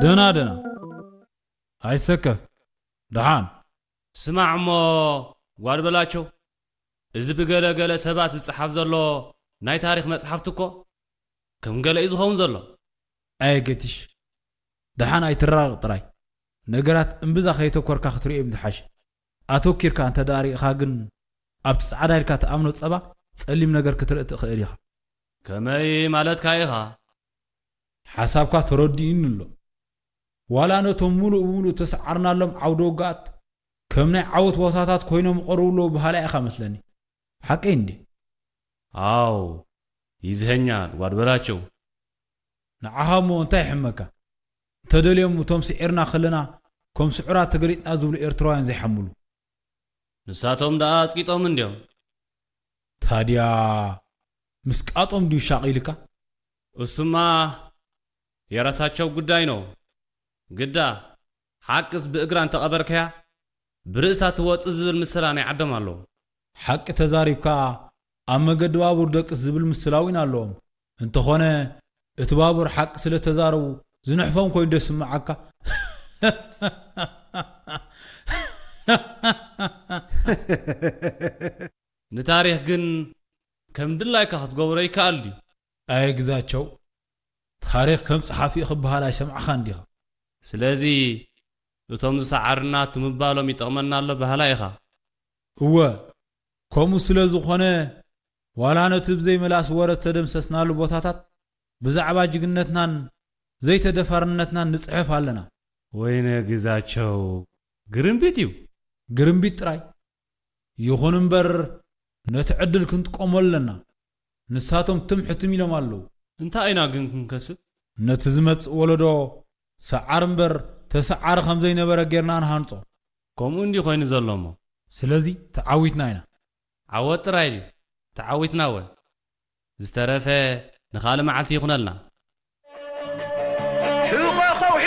ደና ደና፣ ኣይሰከፍ። ደሓን። ስማዕ እሞ ጓድ በላቸው፣ እዚ ብገለ ገለ ሰባት ዝጸሓፍ ዘሎ ናይ ታሪኽ መጽሓፍቲ እኮ ከም ገለ እዩ ዝኸውን ዘሎ። ኣየ ገቲሽ፣ ደሓን ኣይትራቐቕ ጥራይ። ነገራት እምብዛ ከየተኮርካ ክትርእዮም ዝሓሸ። ኣተኪርካ እንተ ደኣ ርኢኻ ግን፣ ኣብቲ ጻዕዳ ኢልካ ትኣምኖ ጸባ ጸሊም ነገር ክትርኢ ትኽእል ኢኻ። ከመይ ማለትካ ኢኻ? ሓሳብካ ተረዲኡኒ ኣሎ። ዋላ ነቶም ምሉእ ብምሉእ ተሰዓርናሎም ዓውደ ውግኣት ከም ናይ ዓወት ቦታታት ኮይኖም ይቐርቡ ኣለዉ በሃላይ ኢኻ መስለኒ። ሓቀይ እንዴ? ኣው፣ ይዝኸኛል ጓድ በላቸው። ንዓኻ እሞ እንታይ ይሕመካ? እንተደልዮም እቶም ስዒርና ከለና ከም ስዑራት ተገሊጽና ዝብሉ ኤርትራውያን ዘይሓምሉ። ንሳቶም ደኣ ኣጽቂጦም እንድዮም። ታድያ ምስቃጦም ድዩ ሻቒልካ? እሱማ የራሳቸው ጉዳይ ነው። ግዳ ሓቅስ ብእግራ እንተቐበርካያ ብርእሳ ትወጽእ ዝብል ምስላ ናይ ዓዶም ኣለዎ። ሓቂ ተዛሪብካ ኣብ መገዲ ባቡር ደቅስ ዝብል ምስላ እውን ኣለዎም። እንተኾነ እቲ ባቡር ሓቂ ስለ ተዛረቡ ዝንሕፎም ኮይኑ ዶ ይስምዓካ? ንታሪኽ ግን ከም ድላይካ ክትገብሮ ይከኣል ድዩ? ኣየ ግዛቸው፣ ታሪኽ ከም ጸሓፊኡ ክበሃል ኣይሰማዕኻን ዲኻ? ስለዚ እቶም ዝሰዓርና እቲ ምባሎም ይጠቕመና ኣሎ በሃላይ ኢኻ። እወ፣ ከምኡ ስለ ዝኾነ ዋላ ነቲ ብዘይ መላስ ወረ ዝተደምሰስናሉ ቦታታት ብዛዕባ ጅግነትናን ዘይተደፋርነትናን ንጽሕፍ ኣለና። ወይነ ግዛቸው፣ ግርምቢጥ እዩ። ግርምቢጥ ጥራይ። ይኹን እምበር ነቲ ዕድል ክንጥቀሞ ኣለና። ንሳቶም ትም ሕትም ኢሎም ኣለዉ። እንታይ ኢና ግን ክንከስብ? ነቲ ዝመጽእ ወለዶ ሰዓር እምበር ተሰዓሪ ከም ዘይነበረ ጌርና ንሃንጾ። ከምኡ እንዲ ኮይኑ ዘሎ እሞ። ስለዚ ተዓዊትና ኢና። ዓወት ጥራይ ድዩ? ተዓዊትና ወ? ዝተረፈ ንኻልእ መዓልቲ ይኹነልና። ሕቖ ኸውሒ!